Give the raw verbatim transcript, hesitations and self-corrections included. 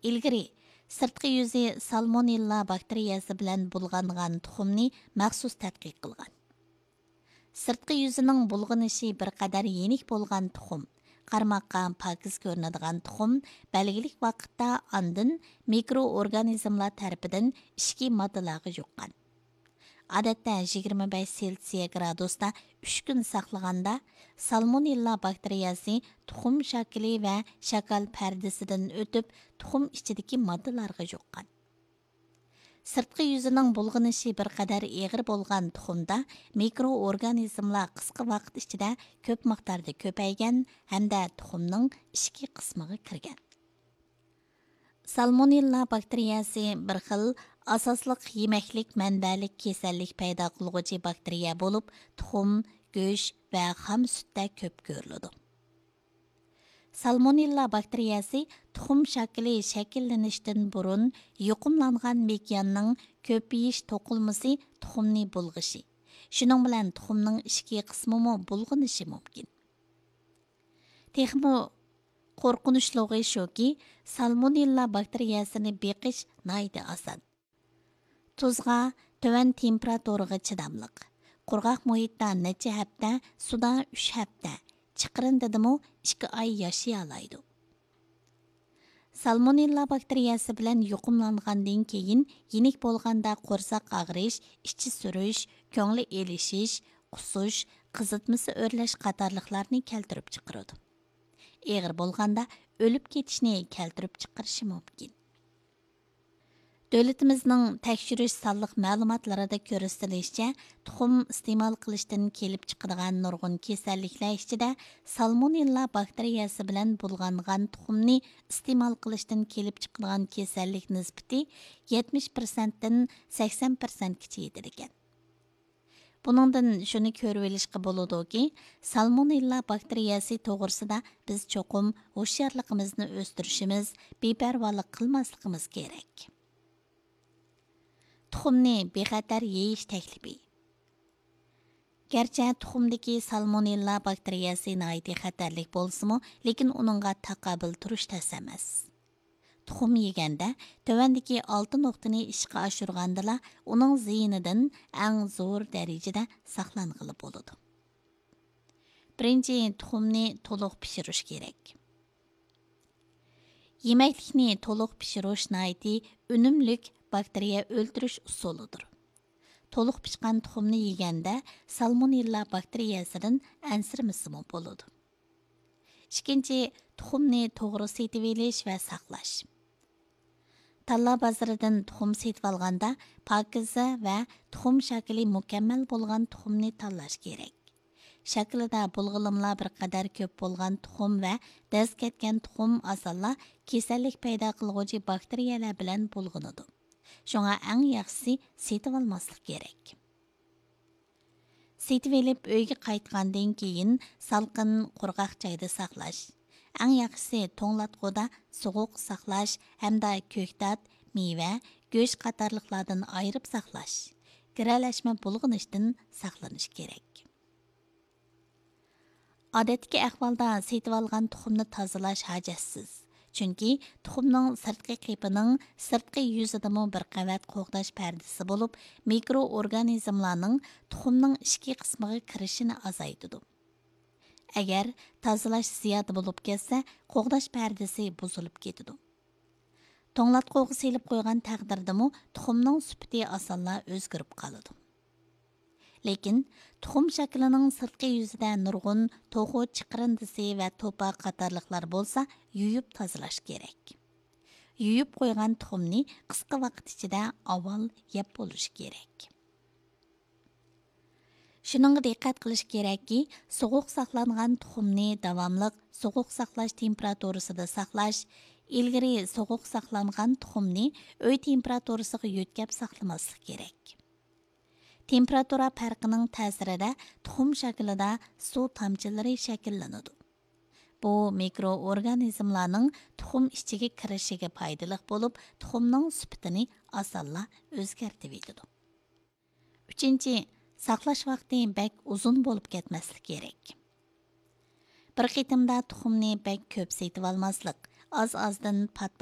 ئىلگىرى سىرتقى يۈزى سالمونېللا باكتېرىيەسى بىلەن بۇلغانغان تۇخۇمنى مەخسۇس تەتقىق قىلغان. سىرتقى يۈزىنىڭ بۇلغىنىشى بىر قەدەر يېنىك بولغان تۇخۇم، قارىماققا پاكىز كۆرۈنىدىغان تۇخۇم بەلگىلىك ۋاقىتتا ئاندىن مىكرو ئورگانىزملار تەرىپىدىن ئىچكى ماددىلارغا يۇققان. ئادەتتە يىگىرمە بەش سېلسىيە گرادۇستا ئۈچ كۈن ساقلىغاندا، سالمونېللا باكتېرىيەسى تۇخۇم شاكىلى ۋە شاكال پەردىسىدىن ئۆتۈپ، تۇخۇم ئىچىدىكى ماددىلارغا يۇققان. سىرتقى يۈزىنىڭ بۇلغىنىشى بىر قەدەر ئېغىر بولغان تۇخۇمدا مىكرو ئورگانىزملار قىسقا ۋاقىت ئىچىدە كۆپ مىقداردا كۆپەيگەن ھەمدە تۇخۇمنىڭ ئىچكى قىسمىغا كىرگەن. سالمونېللا باكتېرىيەسى بىر خىل ئاساسلىق يېمەكلىك مەنبەلىك كېسەللىك پەيدا قىلغۇچى باكتېرىيە بولۇپ، تۇخۇم، گۆش ۋە خام سۈتتە كۆپ كۆرۈلىدۇ. سالمونېللا باكتېرىيەسى تۇخۇم شاكىلى شەكىللىنىشتىن بۇرۇن يۇقۇملانغان مېكىياننىڭ كۆپىيىش توقۇلمىسى تۇخۇمنى بۇلغىشى، شۇنىڭ بىلەن تۇخۇمنىڭ ئىچكى قىسمىمۇ بۇلغىنىشى مۇمكىن. تېخىمۇ قورقۇنچلۇقى شۇكى، سالمونېللا باكتېرىيەسىنى بېقىش ناھايىتى ئاسان. تۇزغا، تۆۋەن تېمپېراتۇرىغا چىداملىق. قۇرغاق مۇھىتتا نەچچە ھەپتە، سۇدا ئۈچ ھەپتە، چىقىرىندىدىمۇ ئىككى ئاي ياشىيالايدۇ. سالمونېللا باكتېرىيەسى بىلەن يۇقۇملانغاندىن كېيىن، يېنىك بولغاندا قورساق ئاغرىش، ئىچى سۈرۈش، كۆڭلى ئېلىشىش، قۇسۇش، قىزىتمىسى ئۆرلەش قاتارلىقلارنى كەلتۈرۈپ چىقىرىدۇ. ئېغىر بولغاندا ئۆلۈپ كېتىشنى كەلتۈرۈپ چىقىرىشى مۇمكىن. دۆلىتىمىزنىڭ تەكشۈرۈش سانلىق مەلۇماتلىرىدا كۆرسىتىلىشىچە، تۇخۇم ئىستېمال قىلىشتىن كېلىپ چىقىدىغان نۇرغۇن كېسەللىكلەر ئىچىدە سالمونېللا باكتېرىيەسى بىلەن بۇلغانغان تۇخۇمنى ئىستېمال قىلىشتىن كېلىپ چىقىدىغان كېسەللىك نىسبىتى يەتمىش پىرسەنتتىن سەكسەن پىرسەنتكىچە يېتىدىكەن. بۇنىڭدىن شۇنى كۆرۈۋېلىشقا بولىدۇكى، سالمونېللا باكتېرىيەسى توغرىسىدا بىز چوقۇم ھوشيارلىقىمىزنى ئۆستۈرۈشىمىز، بىپەرۋالىق قىلماسلىقىمىز كېرەك. تۇخۇمنى بىخەتەر يېيىش تەكلىپى. گەرچە تۇخۇمدىكى سالمونېللا باكتېرىيەسى ناھايىتى خەتەرلىك بولسىمۇ، لېكىن ئۇنىڭغا تاقابىل تۇرۇش تەس ئەمەس. تۇخۇم يېگەندە، تۆۋەندىكى ئالتە نۇقتىنى ئىشقا ئاشۇرغاندىلا، ئۇنىڭ زىيىنىدىن ئەڭ زور دەرىجىدە ساقلانغىلى بولىدۇ. بىرىنچى، تۇخۇمنى تولۇق پىشۇرۇش كېرەك. يېمەكلىكنى تولۇق پىشۇرۇش ناھايىتى ئۈنۈملۈك باكتېرىيە ئۆلتۈرۈش ئۇسۇلىدۇر. تولۇق پىشقان تۇخۇمنى يېگەندە، سالمونېللا باكتېرىيەسىدىن ئەنسىرىمىسىمۇ بولىدۇ. ئىككىنچى، تۇخۇمنى توغرا سېتىۋېلىش ۋە ساقلاش. تاللا بازىرىدىن تۇخۇم سېتىۋالغاندا، پاكىزە ۋە تۇخۇم شاكىلى مۇكەممەل بولغان تۇخۇمنى تاللاش كېرەك. شاكىلىدا بۇلغىلىملار بىر قەدەر كۆپ بولغان تۇخۇم ۋە دەز كەتكەن تۇخۇم ئاسانلا كېسەللىك پەيدا قىلغۇچى باكتېرىيەلەر بىلەن بۇلغىنىدۇ. شۇڭا ئەڭ ياخشىسى سېتىۋالماسلىق كېرەك. سېتىۋېلىپ ئۆيگە قايتقاندىن كېيىن سالقىن، قۇرغاق جايدا ساقلاش. ئەڭ ياخشىسى توڭلاتقۇدا سوغۇق ساقلاش ھەمدە كۆكتات، مېۋە، گۆش قاتارلىقلاردىن ئايرىپ ساقلاش. گىرەلەشمە بۇلغىنىشتىن ساقلىنىش كېرەك. ئادەتتىكى ئەھۋالدا سېتىۋالغان تۇخۇمنى تازىلاش ھاجەتسىز. چۈنكى تۇخۇمنىڭ سىرتقى قېپىنىڭ سىرتقى يۈزىدىمۇ بىر قەۋەت قوغداش پەردىسى بولۇپ، مىكرو ئورگانىزملارنىڭ تۇخۇمنىڭ ئىچكى قىسمىغا كىرىشىنى ئازايتىدۇ. ئەگەر تازىلاش زىيادە بولۇپ كەتسە، قوغداش پەردىسى بۇزۇلۇپ كېتىدۇ. توڭلاتقۇغا سېلىپ قويغان تەقدىردىمۇ تۇخۇمنىڭ سۈپىتى ئاسانلا ئۆزگىرىپ قالىدۇ. لېكىن تۇخۇم شاكىلىنىڭ سىرتقى يۈزىدە نۇرغۇن توخۇ چىقىرىندىسى ۋە توپا قاتارلىقلار بولسا يۇيۇپ تازىلاش كېرەك. يۇيۇپ قويغان تۇخۇمنى قىسقا ۋاقىت ئىچىدە ئاۋۋال يەپ بولۇش كېرەك. شۇنىڭغا دىققەت قىلىش كېرەككى، سوغۇق ساقلانغان تۇخۇمنى داۋاملىق سوغۇق ساقلاش تېمپېراتۇرىسىدا ساقلاش، ئىلگىرى سوغۇق ساقلانغان تۇخۇمنى ئۆي تېمپېراتۇرىسىغا يۆتكەپ ساقلىماسلىق كېرەك. تېمپېراتۇرا پەرقىنىڭ تەسىرىدە تۇخۇم شاكىلىدا سۇ تامچىلىرى شەكىللىنىدۇ. بۇ مىكرو ئورگانىزملارنىڭ تۇخۇم ئىچىگە كىرىشىگە پايدىلىق بولۇپ، تۇخۇمنىڭ سۈپىتىنى ئاسانلا ئۆزگەرتىۋېتىدۇ. ئۈچىنچى، ساقلاش ۋاقتى بەك ئۇزۇن بولۇپ كەتمەسلىك كېرەك. بىر قېتىمدا تۇخۇمنى بەك كۆپ سېتىۋالماسلىق، ئاز-ئازدىن پات